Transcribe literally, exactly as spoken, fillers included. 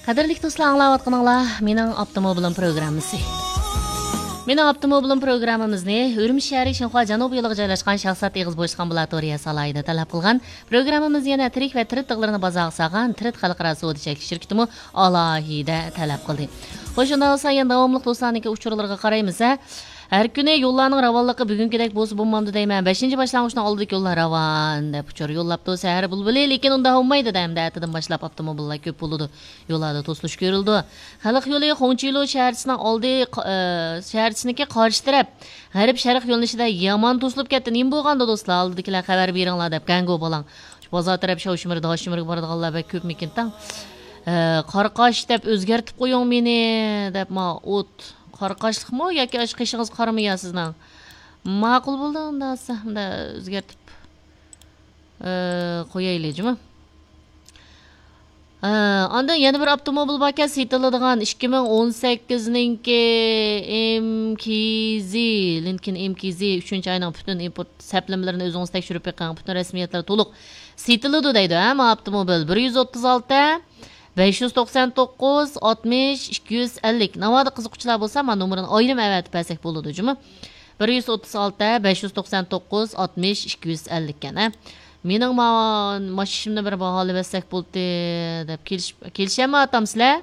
قەدىرلىك دوستلار، ئاڭلاۋاتقىنىڭلار مېنىڭ ئاپتوموبىلىم پروگراممىسى. مېنىڭ ئاپتوموبىلىم پروگراممىمىزنى ئۈرۈمچى شەھىرى شىنخۇا جەنۇبىي يولىغا جايلاشقان شاھزات ئېغىز بوشلۇق ئامبۇلاتورىيەسى ئالاھىدە تەلەپ قىلغان. پروگراممىمىز يەنە تىرىك ۋە تىرىت تىغلىرىنى بازارغا سالغان تىرىت خەلقئارا سودا چەكلىك شىركىتىمۇ ئالاھىدە تەلەپ قىلدى. خوش، شۇنداق بولسا يەنە داۋاملىق دوستلارنىڭكى ئۇچۇرلىرىغا قارايمىز ھە. ھەر كۈنى يوللارنىڭ راۋانلىقى بۈگۈنكىدەك بولسا بولمامدۇ دەيمەن. بەشىنچى باشلانغۇچنىڭ ئالدىدىكى يوللار راۋان دەپ ئۇچۇر يوللاپتۇ سەھەر بۇلبۇلى، لېكىن ئۇنداق بولمايدۇ دە، ئەمدى ئەتىدىن باشلاپ ئاپتوموبىللار كۆپ بولىدۇ. يوللاردا توسۇلۇش كۆرۈلىدۇ. خەلق يولى خۇڭچىلۇ شەھەرچىسىنىڭ ئالدى، قا-، ئە، شەھەرچىسىنىڭكى قارشى تەرەپ غەرب شەرق يۆنىلىشىدە يامان توسۇلۇپ كەتتى. نېمە بولغاندۇ دوستلار؟ ئالدىدىكىلەر خەۋەر بېرىڭلار دەپ، گەڭگو بالاڭ. شۇ بازار تەرەپ شاۋشىمىرى، داشىمىرىغا بارىدىغانلار بەك كۆپمىكىن تاڭ. ئە، قارقاش دەپ ئۆزگەرتىپ قويۇڭ مېنى دەپ، ما ئوت. قارقاشلىقمۇ ياكى ئاشۇ قېشىڭىز قارىمۇ يا سىزنىڭ؟ ماقۇل بولدى، ئۇنداق بولسا، ئۇنداق ئۆزگەرتىپ، ئە، قويايلى جۇمۇ. ئە، ئاندىن يەنە بىر ئاپتوموبىل باركەن، سېتىلىدىغان ئىككى مىڭ ئون سەككىزنىڭكى ئېم كېي زى، لىنكولن ئېم كېي زى، ئۈچىنچى ئاينىڭ پۈتۈن ئىمپورت سەپلىمىلىرىنى ئۆزىڭىز تەكشۈرۈپ بېقىڭ، پۈتۈن رەسمىيەتلەر تولۇق. سېتىلىدۇ دەيدۇ، ھە، ما ئاپتوموبىل. بىر يۈز ئوتتۇز ئالتە، بەش يۈز توقسان توققۇز، ئاتمىش، ئىككى يۈز ئەللىك. ناۋادا قىزىققۇچىلار بولسا، ما نومۇرىنى ئايرىم ئەۋەتىپ بەرسەك بولىدۇ جۇمۇ. بىر يۈز ئوتتۇز ئالتە، بەش يۈز توقسان توققۇز، ئاتمىش، ئىككى يۈز ئەللىك ئىكەن، ھە. مېنىڭ ما-، ماشىنىمنى بىر باھالىۋەتسەك بولدى دەپ كېلىش-، كېلىشەممۇ ئاتام سىلەر؟